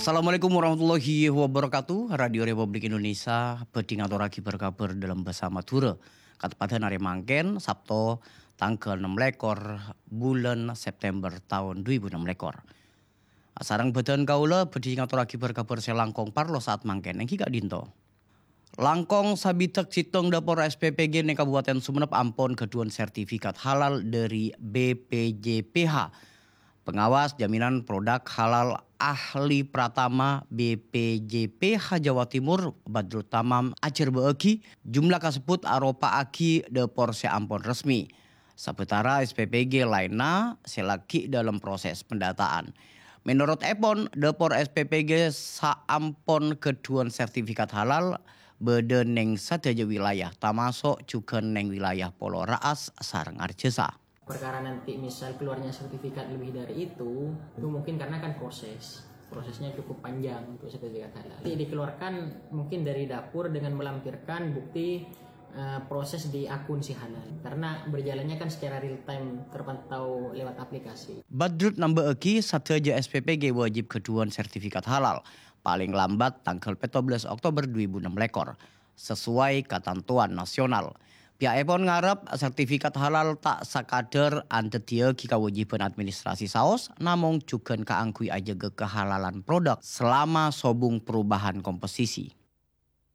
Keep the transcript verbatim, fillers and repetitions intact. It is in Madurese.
Assalamualaikum warahmatullahi wabarakatuh. Radio Republik Indonesia bhâdhi ngatorraghi bâr-kabhâr dâlem bhâsa Madhurâ. Kateppadhân arè mangkèn, Sabto, tangghâl ennem lèkor bulân September taon dhu èbu ennem lèkor. Sareng bhâdhân kaulâ bhâdhi ngatorraghi bâr-kabhâr sè langkong parlo saat mangkèn èngghi ka'dinto. Langkong sabidhâk sèttong dâpor S P P G neng Kabupaten Sumenep ampon ghâdhuwân sertifikat halal dâri B P J P H. Pengawas jaminan produk halal ahli pratama B P J P H Jawa Timur, Badrut Tamam, ajhârbâ'âghi jumlah kasebbhut aropa'aghi dâpor sè ampon resmi. Sabâtara S P P G laènna sè laghi dâlem proses pendataan. Menurut èpon, dâpor S P P G saampon ghâdhuwân sertifikat halal bâdâ neng sadhâjâ wilayah, tamaso' jhughân neng wilayah Polo Ra'as sareng Arjasa. Perkara nanti misal keluarnya sertifikat lebih dari itu, itu mungkin karena kan proses. Prosesnya cukup panjang untuk sertifikat halal. Nanti dikeluarkan mungkin dari dapur dengan melampirkan bukti, eh, proses di akun si halal. Karena berjalannya kan secara real time terpantau lewat aplikasi. Badrut nambâ'âghi sadhâjâ S P P G wajib ghâdhuwân sertifikat halal, palèng lambat tangghâl pètto bellâs Oktober dhu èbu ennem lèkor, sesuai katantowan nasional. Pihakèpon ngarep sertifikat halal ta' sakadhâr andhâddhiyâghi kawâjibhân administrasi saos, namong jhughân kaangghuy ajâgâ kahalalan produk selama sobung perubahan komposisi.